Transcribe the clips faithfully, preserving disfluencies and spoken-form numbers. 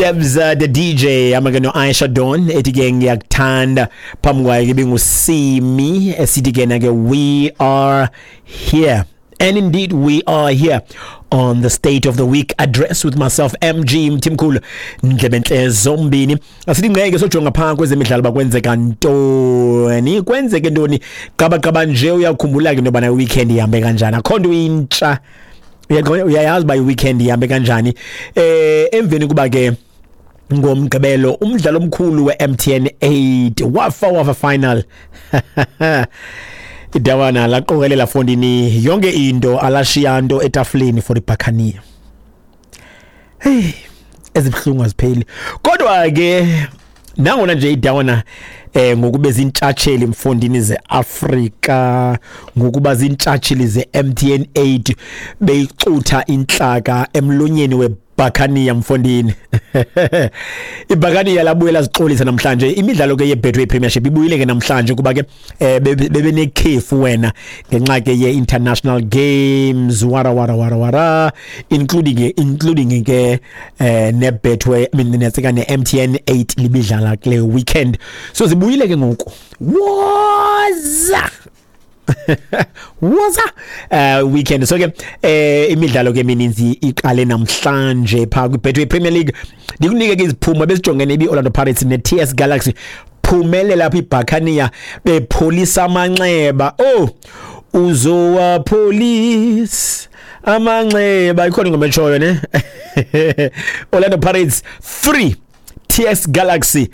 Debs uh, the D J amake no Aisha Don ethi ke "Ngiyakuthanda". Phambi kwayo ke binguSimi esithi ke na ke "We Are Here". And indeed we are here on the State of the Week Address with myself, M G Mthimkhulu, ndlebentle zombini. Asithi ngeke sojonga phaa kwezemidlalo bakwenzeka ntoni, kwenzeke ntoni qaba qaba nje. Uyakhumbula ke into yobana weekend ihambe kanjani? Akho nto intsha. Uyaqonda, uyayazi uba i-weekend ihambe kanjani. eh emveni kuba ke ngoMgqibelo umdlalo omkhulu we-M T N eight wafa wafa final, idawana laqokelela fondini yonke into, alashiya nto etafuleni for iBhakaniya. Hey, ezibuhlungu azipheli. Kodwa ke nangona nje idawana eh ngokube zintshatsheli mfondini zeAfrika, ngokuba zintshatsheli ze-M T N eight, beyicutha inhlaka emlonyeni weBhakaniya mfondini, iBhakaniya labuye lazixolisa namhlanje. Imidlalo ke yeBetway Premiership ibuyile ke namhlanje kuba ke eh, bebenekhefu wena ngenxa ke ye-international games, wara wara wara wara, including including ke eh, neBetway, I mean, netsika ne-M T N eight libidlala kule weekend. So zibuyile ke ngoku, woza woza uh weekend. So ke eh imidlalo ke emininzi iqale namhlanje pha kwiBetway Premier League. Ndikunike ke iziphumo besijongene ibi-Orlando Pirates ne-T S Galaxy. Phumelela lapha iBhakaniya bepholisa amanxeba. Oh, uzowapholisa amanxeba, ikhona ingoma etshoyo ne. Orlando Pirates three, T S Galaxy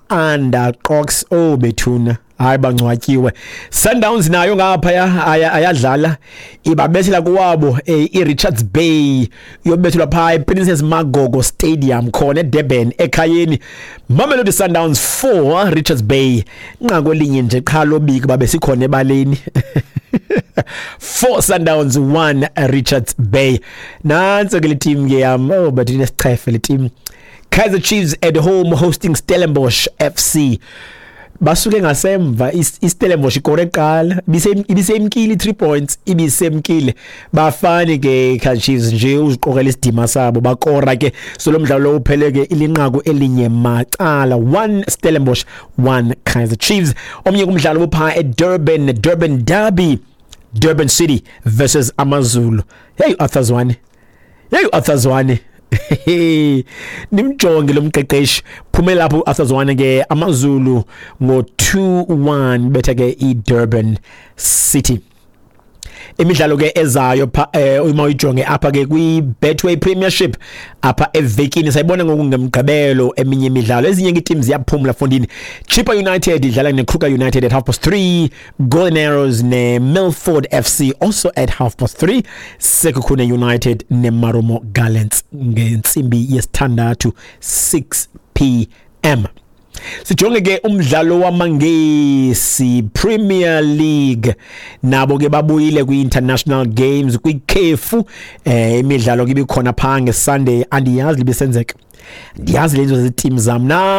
qanda qox. Oh bethuna, hayi, bangcwatyiwe. Sundowns nayo ngapha ayadlala, ibabethela kuwabo eh, iRichards Bay, yobethelwa pha ePrincess Magogo Stadium khona eDurban, ekhayeni. Mamelodi Sundowns four, Richards Bay nqaku elinye nje qha lobiki babe sikhona ebaleni. four Sundowns, one Richards Bay. Nanso ke le team ke yam. Oh, but inesichefe le team. Kaizer Chiefs at home hosting Stellenbosch F C. Basuke ngasemva, iStellenbosch ikore eqala, ibisemkile three points, ibisemkile. Bafani ke Kaizer Chiefs nje uziqokela isidima sabo, bakora ke. So lo mdlalo uphele ke ilinqaku elinye macala, one Stellenbosch, one Kaizer Chiefs. Omnye kumdlalo upha eDurban, Durban Derby, Durban City versus AmaZulu. Hey, Arthur Zwane, hey, Arthur Zwane, nimjonge lo mqeqeshi. Phume lapho Arthur Zwane ke AmaZulu ngo two one, betha ke iDurban City. Imidlalo ke ezayo pha eh, uma uyijonge apha ke kwi Betway Premiership apha evekini, sayibona ngoku ngemgqibelo eminye imidlalo. Ezinye ke teams ziyaphumla fondini. Chippa United idlala neKruger United at half past three, Golden Arrows neMilford F C also at half past three, Sekhukhune United neMarumo Gallants ngentsimbi yesithandathu, six p m. Sijonge ke umdlalo wamaNgesi, Premier League. Nabo ke babuyile kwi-international games, kwikhefu. eh imidlalo ke ibikhona pha ngeSunday. Andiyazi libisenzeka, ndiyazi lezo ziteam zam na.